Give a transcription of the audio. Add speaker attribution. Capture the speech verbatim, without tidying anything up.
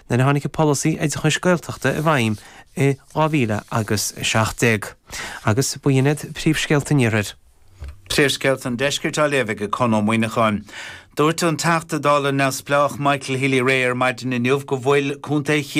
Speaker 1: nuair a tháinig an polasaí oideachais Gaeltachta i bhfeidhm i dhá mhíle agus a seacht déag. Agus b'in iad príomhscéalta an iarthair.
Speaker 2: Príomhscéalta an deiscirt á léamh ag Conn Ó Muíneacháin. Dúirt an Teachta Dála neamhspleách Michael Healy-Rae ar maidin inniu go bhfuil Contae